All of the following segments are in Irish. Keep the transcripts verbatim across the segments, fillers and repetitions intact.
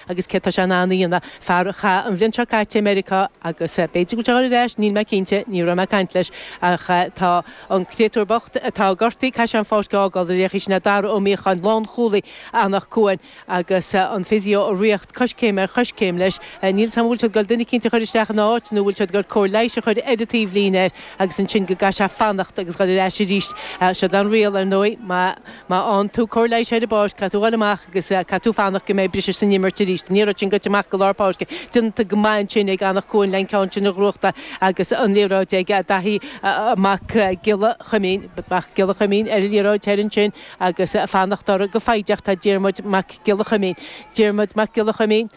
Agus céard tá sé in ann a dhéanamh, fear a chaith an bhliain seo caite i Meiriceá agus b'fhéidir go bhfuil sé ag dul ar ais, níl mé cinnte, ní raibh mé ag caint leis, ach tá an créatúr bocht atá gortaithe, caithfidh sé an pháirc a fhágáil ar aon chaoi, sin é Dara Ó Míocháin, lánchúlaí Anach Cuain agus an physio ag ritheacht coiscéim ar choiscéim leis. Níl 'fhios a'm an bhfuil siad ag dul duine eicínt a chur isteach ina áit nó an bhfuil siad ag dul cóir leighis a chur ar an taobhlíne air agus ansin go gcaithfidh sé fanacht agus dhul ar ais arís. Siod an riail, ar ndóigh, má fhaigheann tú cóir leighis ar an bpáirc, caithfidh tú dhul amach agus caithfidh tú fanacht go mbeidh briseadh san imirt arís. An liathróid sin gaibhte amach go lár páirce. Déanta go maith ansin ag Anach Cuain le an ceann sin a ghnóthachtáil agus an liathróid ag Daithí Mac Giolla Chuimín, Mac Giolla Chuimín ar an liathróid thoir ansin agus ag fanacht orthu go foighdeach tá Diarmuid Mac Giolla Chuimín. Diarmuid Mac Giolla Chuimín.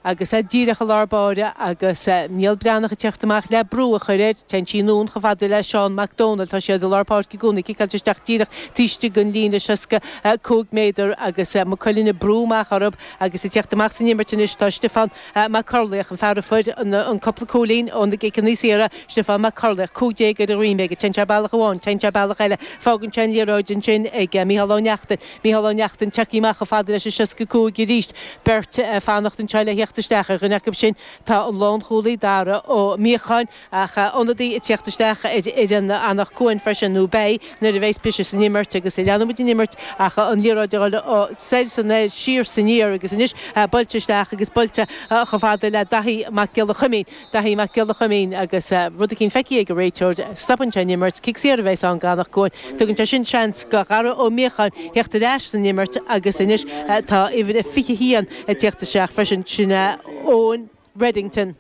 Agus é díreach i lár báire agus Niall Breathnach ag teacht amach le brú a chur air, téann sí anonn chomh fada le Seán Mac Dónaill. Tá siad i lár páirce i gcónaí, ciceáilte isteach díreach taobh istigh den líne seasca cúig méadar agus Maigh Cuilinn ag brú amach orthu agus ag teacht amach san imirt anois tá Stiofán Mac Corlaoich, an fear a fuair an cúpla cúilín ó na gciceanna saora, Stiofán Mac Corlaoich, cúig déag ar a dhroim aige, téann sé bealach amháin, téann sé bealach eile, fágann sé an liathróid ansin ag Micheál Ó Neachtain. Micheál Ó Neachtain tagtha amach chomh fada leis an seasca cúig arís. Beirt ag fanacht anseo le theacht isteach. Ar dhuine acu sin tá an lánchúlaí Dara Ó Míocháin ach ionadaí ag teacht isteach ar fhoireann Anach Cuain freisin, nó beidh nuair a bheas briseadh san imirt agus leanfaidh muid an imirt ach an liathróid ag dul soir is anoir, siar is aniar agus anois buailte isteach agus buailte chomh fada le Daithí Mac Giolla Chuimín. Daithí Mac Giolla Chuimín agus rud eicínt feicthe ag an réiteoir, stopann sé an imirt, cic saor a bheas ann d'Anach Cuain. Tugann sé sin seans do Dhara Ó Míocháin theacht ar ais san imirt agus anois tá uimhir a fiche haon ag teacht isteach freisin, sin é Eoin Reddington.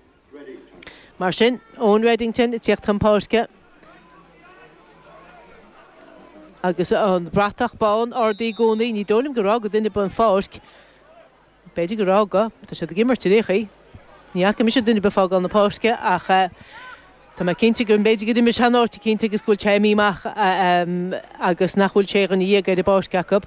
Mar sin, Eoin Reddington ag teacht chun páirce agus an bratach bán ardaithe i gcónaí. Ní dóigh liom gur fhág duine ar bith an pháirc. B'fhéidir gur fhág. Tá siad ag imirt ar aon chaoi. Ní fhaca mise duine ar bith ag fágáil na páirce ach tá mé cinnte go mb'fhéidir gur imir sé in áit eicínt agus go bhfuil sé imithe amach agus nach bhfuil sé dhuine dhéag ar an bpáirc acu.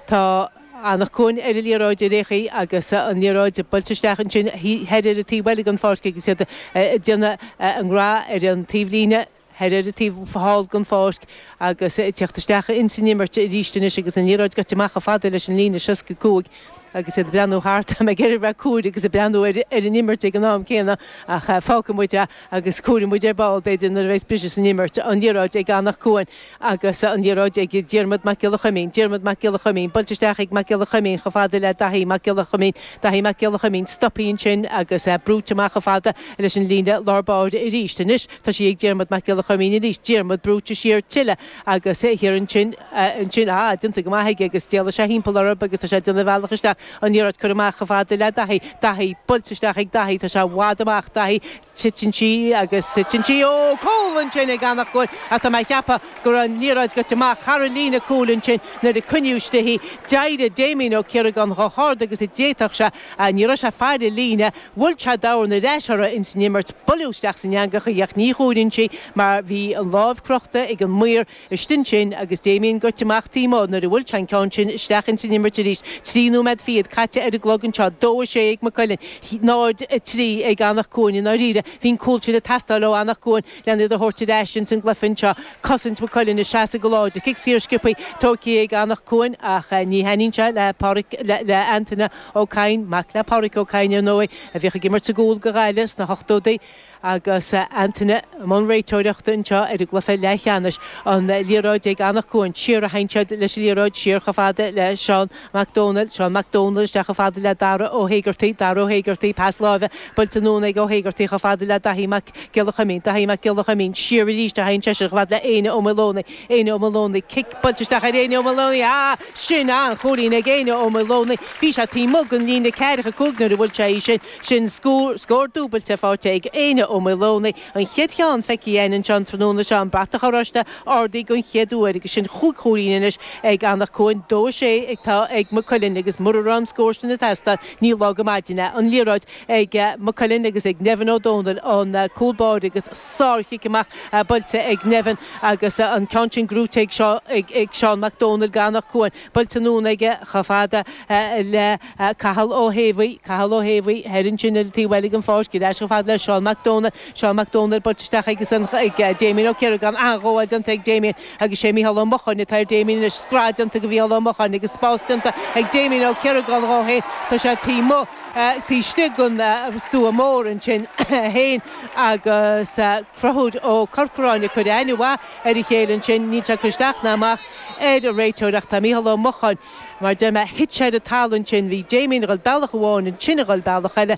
Tá Anach Cuain ar an liathróid ar aon chaoi agus an liathróid buailte isteach ansin thoir ar an taobh eile den pháirc agus iad ag déanamh a ngrá ar an taobhlíne. Thoir ar an taobh thall den pháirc agus ag teacht isteach ins an imirt arís anois agus an liathróid gaibhte amach chomh fada leis an líne seasca cúig agus iad ag breathnú thart. Tá mé ag iarraidh bheith cúir agus ag breathnú ar an imirt ag an am céanna ach fágfaidh muid é agus cuirfidh muid ar ball b'fhéidir nuair a bheas briseadh san imirt. An liathróid ag Anach Cuain agus an liathróid ag Diarmuid Mac Giolla Chuimín. Diarmuid Mac Giolla Chuimín buailte isteach ag Mac Giolla Chuimín chomh fada le Daithí Mac Giolla Chuimín. Daithí Mac Giolla Chuimín stoptha ansin agus brúite amach chomh fada leis an líne lár báire arís. Anois tá sí ag Diarmuid Mac Giolla Chuimín arís. Diarmuid brúite siar tuilleadh agus thiar ansin, ansin, ah, déanta go maith aige agus d'éalaigh sé thimpeall orthu agus tá sé ag déanamh a bhealach isteach. An liathróid curtha amach chomh fada le Daithí. Daithí buailte isteach ag Daithí. Tá sé i bhfad amach. Daithí, titeann sí agus titeann sí. Ó, cúl ansin ag Anach Cuain ach tá mé a cheapadh go raibh an liathróid gaibhte amach thar an líne cúil ansin nuair a coinníodh istigh í. D'éirigh Damien Ó Ciaragáin chomh hard agus a d'fhéadfadh sé. Ní raibh sé ag faire an líne. Bhuail sé dorn ar ais orthu ins an imirt. Buaileadh isteach san eangach í ach ní chomhaireann sí mar bhí an lámh crochta ag an maor istigh ansin agus Damien gaibhte amach taobh amuigh nuair a bhuail sé an ceann sin isteach ins an imirt arís. Trí nóiméad fichead caite ar an gclog anseo. Dó a sé ag Maigh Cuilinn, náid a trí ag Anach Cuain. I ndáiríre, bhí an cúl sin ag teastáil ó Anach Cuain lena iad a thabhairt ar ais ins an gcluiche anseo. Cosaint Mhaigh Cuilinn ag seasamh go láidir. Cic saor sciobtha tógtha ag Anach Cuain ach ní thaitníonn sé le Páraic, le Antaine Ó Cadhain, mac le Páraic Ó Cadhain ar ndóigh, a bhíodh ag imirt sa gcúl do Ghaillimh sna hochtóidí agus Antaine i mbun réiteoireachta anseo ar an gcluiche leathcheannais. An liathróid ag Anach Cuain. Siar a théann siad leis an liathróid, siar chomh fada le Seán Mac Dónaill. Seán Mac Dónaill isteach chomh fada le Dara Ó hÉigeartaigh. Dara Ó hÉigeartaigh, pas láimhe buailte anonn ag Ó hÉigeartaigh chomh fada le Daithí Mac Giolla Chuimín. Daithí Mac Giolla Chuimín, siar arís a théann seisean chomh fada le Éanna Ó Maoileonaigh. Éanna Ó Maoileonaigh, cic buailte isteach ar Éanna Ó Maoileonaigh. Ah! Sin an-chúilín ag Éanna Ó Maoileonaigh. Bhí sé taobh amuigh den líne ceathracha cúig nuair a bhuail sé í sin. Sin scór, scór dúbailte faighte ag Éanna Ó Maoileonaigh. An chéad cheann feicthe againn anseo an tráthnóna seo, an bratach oráiste ardaithe den chéad uair agus sin chúig chúilín anois ag Anach Cuain. Dó a sé atá ag Maigh Cuilinn agus mura raibh an scór sin ag teastáil, ní lá go maidin é. An liathróid ag Maigh Cuilinn agus ag Nevin Ó Dónaill, an cúl báire agus sárchic amach buailte ag Nevin agus an ceann sin gnóite ag Seán Mac Dónaill d'Anach Cuain. Buailte anonn aige chomh fada le Cathal Ó hÉamhaí, Cathal Ó hÉamhaí thoir ansin ar an taobh eile den pháirc, ar ais chomh fada le Seán Mac Dónaill, Seán Mac Dónaill buailte isteach ag ag Damien Ó Ciaragáin, an-ghabháil déanta ag Damien agus sé Mícheál Ó Mocháin atá ar Damien anois, scread déanta de Mhícheál Ó Mocháin agus spás déanta ag Damien Ó Ciaragáin dhó féin, tá sé taobh amuigh. taobh istigh den stua mór ansin féin agus Conchúr Ó Corcoráin ag cur aithne mhaith ar a chéile ansin níl sé isteach ná amach ar an réiteoir ach tá Mícheál Ó Mocháin mar de thit sé ar an talamh ansin bhí Damien ag dul bealach amháin ansin ag dul bealach eile